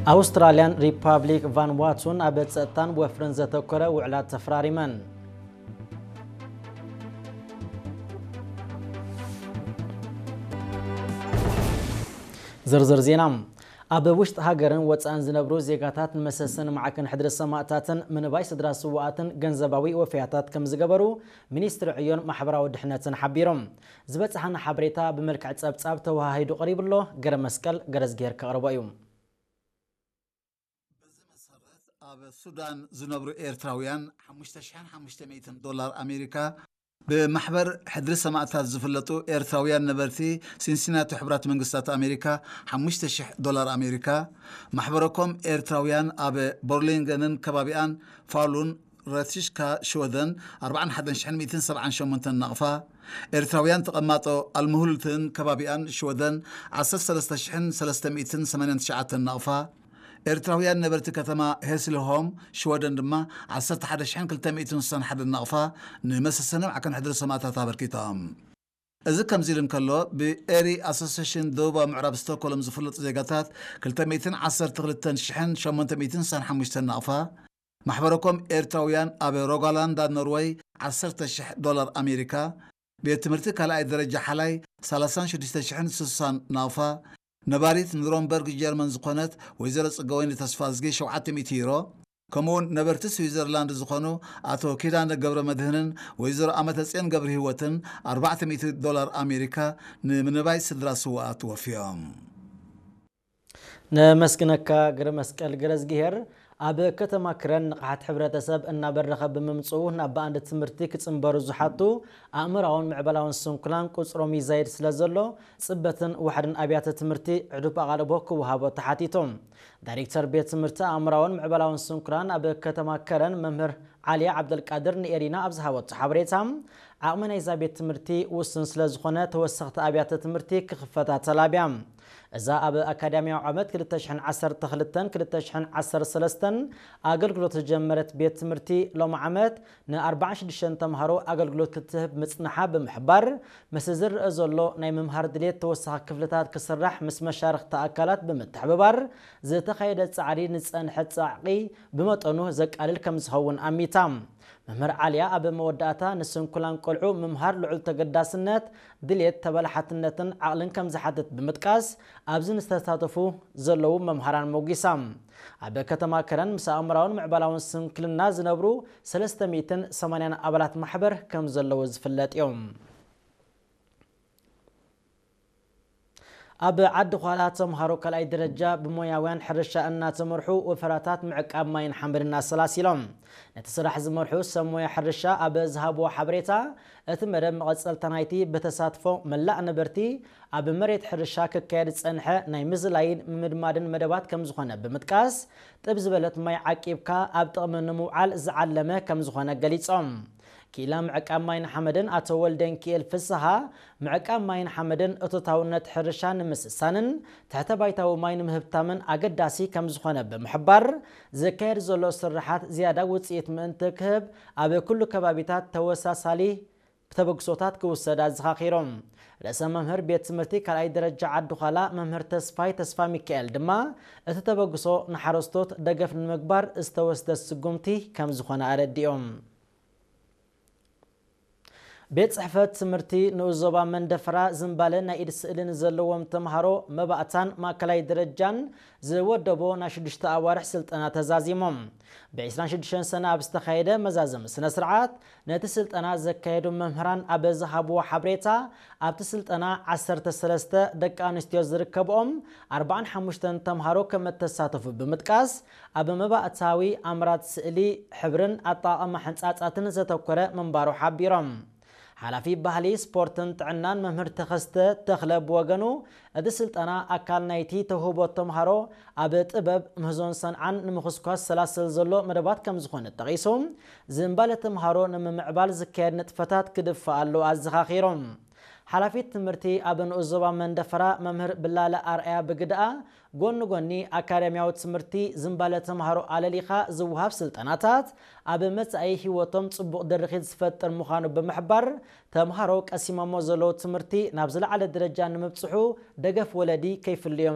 ኣውስትራልያን ሪፓብሊክ ቫንዋቱን ኣብ ጸጥታን ወፍርን ዘተኮረ ውዕላት ተፈራሪመን። ዝርዝር ዜና። ኣብ ውሽጢ ሃገርን ወጻእን ዝነብሩ ዜጋታት ንመሰሰን ማዕከን ሕድሪ ሰማእታትን ምንባይ ስድራ ስውኣትን ገንዘባዊ ወፈያታት ከም ዝገበሩ ሚኒስትሪ ዕዮን ማሕበራዊ ድሕነትን ሓቢሮም። ዝበጽሓና ሓበሬታ ብመልክዕ ጸብጻብ ተወሃሂዱ ቀሪቡ ኣሎ። ገረ መስቀል ገረዝጌር ከቕርቦ እዩ። በዚ መሰረት ኣብ ሱዳን ዝነብሩ ኤርትራውያን ሓሙሽተ ሽሕን ሓሙሽተ ሚእትን ዶላር ኣሜሪካ ብማሕበር ሕድሪ ሰማእታት ዝፍለጡ ኤርትራውያን ነበርቲ ሲንሲናቲ ሕቡራት መንግስታት ኣሜሪካ ሓሙሽተ ሽሕ ዶላር ኣሜሪካ፣ ማሕበረኮም ኤርትራውያን ኣብ ቦርሊንገንን ከባቢኣን ፋሉን ረቲሽካ ሽወደን ኣርባዓን ሓደን ሽሕን ሚእትን ሰብዓን ሸሞንተን ናቕፋ፣ ኤርትራውያን ተቐማጦ ኣልምሁልትን ከባቢኣን ሽወደን ዓሰርተ ሰለስተ ሽሕን ሰለስተ ሚእትን ሰማንያን ትሽዓተን ናቕፋ፣ ኤርትራውያን ነበርቲ ከተማ ሄስልሆም ሽወደን ድማ ዓሰርተ ሓደ ሽሕን ክልተ ሚእትን ስሳን ሓደን ናቕፋ ንመሰሰኒ ማዕከን ሕድሪ ሰማእታት ኣበርኪቶም። እዚ ከምዚ ኢሉ እንከሎ፣ ብኤሪ ኣሶሲሽን ደቡባዊ ምዕራብ ስቶክሆልም ዝፍለጡ ዜጋታት ክልተ ሚእትን ዓሰርተ ክልተን ሽሕን ሸሞንተ ሚእትን ስሳን ሓሙሽተን ናቕፋ፣ ማሕበረኮም ኤርትራውያን ኣብ ሮጋላንዳ ኖርወይ ዓሰርተ ሽሕ ዶላር ኣሜሪካ፣ ቤት ትምህርቲ ካልኣይ ደረጃ ሓላይ ሰላሳን ሽዱሽተ ሽሕን ስሳን ናቕፋ፣ ነባሪት ንሮምበርግ ጀርመን ዝኾነት ወይዘሮ ጽገወይኒ ተስፋዝጊ ሸውዓተ ሚእቲ ዩሮ፣ ከምኡውን ነበርቲ ስዊዘርላንድ ዝኾኑ ኣቶ ኪዳነ ገብረ መድህንን ወይዘሮ ኣመተጽዮን ገብረ ህይወትን ኣርባዕተ ሚእቲ ዶላር ኣሜሪካ ንምንባይ ስድራ ስውኣት ወፍዮም። ነመስግነካ ግረ መስቀል ገረዝግሄር። ኣብ ከተማ ክረን ንቕሓት ሕብረተሰብ እናበረኸ ብምምፅኡ ናብ ብኣንድ ትምህርቲ ክፅንበሩ ዝሓቱ ኣእምራውን ምዕባላውን ስንኩላን ቁፅሮም ይዛይድ ስለ ዘሎ፣ ፅበትን ዋሕድን ኣብያተ ትምህርቲ ዕዱብ ኣቓልቦ ክወሃቦ ተሓቲቱ። ዳይሬክተር ቤት ትምህርቲ ኣእምራውን ምዕባላውን ስንኩላን ኣብ ከተማ ከረን መምህር ዓሊያ ዓብደልቃድር ንኤሪና ኣብ ዝሃበቶ ሓበሬታ፣ ዓቕሚ ናይዛ ቤት ትምህርቲ ውሱን ስለ ዝኾነ ተወሰኽቲ ኣብያተ ትምህርቲ ክኽፈታ ተላብያ። እዛ ኣብ ኣካዳሚያዊ ዓመት ክልተ ሽሕን ዓሰርተ ክልተን ክልተ ሽሕን ዓሰርተ ሰለስተን ኣገልግሎት ዝጀመረት ቤት ትምህርቲ ሎሚ ዓመት ንኣርባዓን ሽዱሽተን ተምሃሮ ኣገልግሎት ክትህብ ምጽንሓ ብምሕባር፣ ምስዚ ዝረአ ዘሎ ናይ ምምሃር ድሌት ተወሳኺ ክፍልታት ክስራሕ ምስ መሻርኽቲ ኣካላት ብምትሕብባር ዝተኻየደ ጻዕሪ ንጸንሐ ጻዕቂ ብመጠኑ ዘቃልል ከም ዝኸውን ኣሚታ። መምህር ዓልያ ኣብ መወዳእታ ንስንኩላን ቆልዑ ምምሃር ልዑል ተገዳስነት፣ ድሌት፣ ተበላሓትነትን ዓቕልን ከም ዝሓትት ብምጥቃስ፣ ኣብዚ ንዝተሳተፉ ዘለዉ መምሃራን ሞጒሳ። ኣብ ከተማ ከረን ምስ ኣእምራውን ምዕባላውን ስንክልና ዝነብሩ ሰለስተ ሚእትን ሰማንያን ኣባላት ማሕበር ከም ዘለዉ ዝፍለጥ እዩ። ኣብ ዓዲ ዃላ ተምሃሮ ካልኣይ ደረጃ ብሞያውያን ሕርሻ እናተመርሑ ወፈራታት ምዕቃብ ማይን ሓመድን ኣሰላሲሎም። ነቲ ስራሕ ዝመርሑ ሰብ ሞያ ሕርሻ ኣብ ዝሃብዎ ሓበሬታ፣ እቲ መደብ መቐጸልታ ናይቲ ብተሳትፎ መላእ ነበርቲ ኣብ መሬት ሕርሻ ክካየድ ዝጸንሐ ናይ ምዝላይን ምምድማድን መደባት ከም ዝኾነ ብምጥቃስ፣ ጥብ ዝበለት ማይ ዓቂብካ ኣብ ጥቕሚ ንምውዓል ዝዓለመ ከም ዝኾነ ገሊጾም። ክኢላ ምዕቃብ ማይን ሓመድን ኣቶ ወልደንኪኤል ፍስሃ፣ ምዕቃብ ማይን ሓመድን እቶታውነት ሕርሻ ንምስሳንን ትሕተ ባይታዊ ማይ ንምህብታምን ኣገዳሲ ከም ዝኾነ ብምሕባር፣ ዝካየድ ዘሎ ስርሓት ዝያዳ ውጽኢት ምእንቲ ክህብ ኣብ ኩሉ ከባቢታት ተወሳሳሊ ተበግሶታት ክውሰድ ኣዘኻኺሮም። ርእሰ መምህር ቤት ትምህርቲ ካልኣይ ደረጃ ዓዲ ዃላ መምህር ተስፋይ ተስፋ ሚካኤል ድማ፣ እቲ ተበግሶ ንሓረስቶት ደገፍ ንምግባር ዝተወስደ ስጉምቲ ከም ዝኾነ ኣረዲኦም። ቤት ጽሕፈት ትምህርቲ ንኡስ ዞባ መንደፈራ ዝምባለ ናይ ኢድ ስእሊ ንዘለዎም ተምሃሮ መባእታን ማእከላይ ደረጃን ዝወደቦ ናይ ሽዱሽተ ኣዋርሕ ስልጠና ተዛዚሞም። ብ ዕስራን ሽዱሽተን ሰነ ኣብ ዝተኻየደ መዛዘሚ ስነ ስርዓት፣ ነቲ ስልጠና ዘካየዱ መምህራን ኣብ ዝሃብዎ ሓበሬታ፣ ኣብቲ ስልጠና ዓሰርተ ሰለስተ ደቂ ኣንስትዮ ዝርከብኦም ኣርባዓን ሓሙሽተን ተምሃሮ ከም እተሳተፉ ብምጥቃስ፣ ኣብ መባእታዊ ኣምራት ስእሊ፣ ሕብርን ኣጠቓቕማ ሕንጻጻትን ዘተኮረ ምንባሩ ሓቢሮም። ሓላፊ ባህሊ፣ ስፖርትን ጥዕናን መምህር ተኸስተ ተኽለ ብወገኑ፣ እቲ ስልጠና ኣካል ናይቲ ተውህቦ ተምሃሮ ኣብ ጥበብ፣ ምህዞን ሰንዓን ንምኹስኳስ ሰላስል ዘሎ መደባት ከም ዝኾነ ጠቒሱ፣ ዝምባለ ተምሃሮ ንምምዕባል ዝካየድ ንጥፈታት ክድፋእ ኣለዎ ኣዘኻኺሮም። ሓላፊት ትምህርቲ ኣብ ንኡስ ዞባ መንደፈራ መምህር ብላለ ኣርኣያ ብግድኣ፣ ጎኒ ጎኒ ኣካዳሚያዊ ትምህርቲ ዝምባለ ተምሃሮ ኣለሊኻ ዝወሃብ ስልጠናታት ኣብ መጻኢ ህይወቶም ጽቡቕ ድርኺት ዝፈጥር ምዃኑ ብምሕባር፣ ተምሃሮ ቀሲሞሞ ዘለዉ ትምህርቲ ናብ ዝለዓለ ደረጃ ንምብጽሑ ደገፍ ወለዲ ከይፍልዮም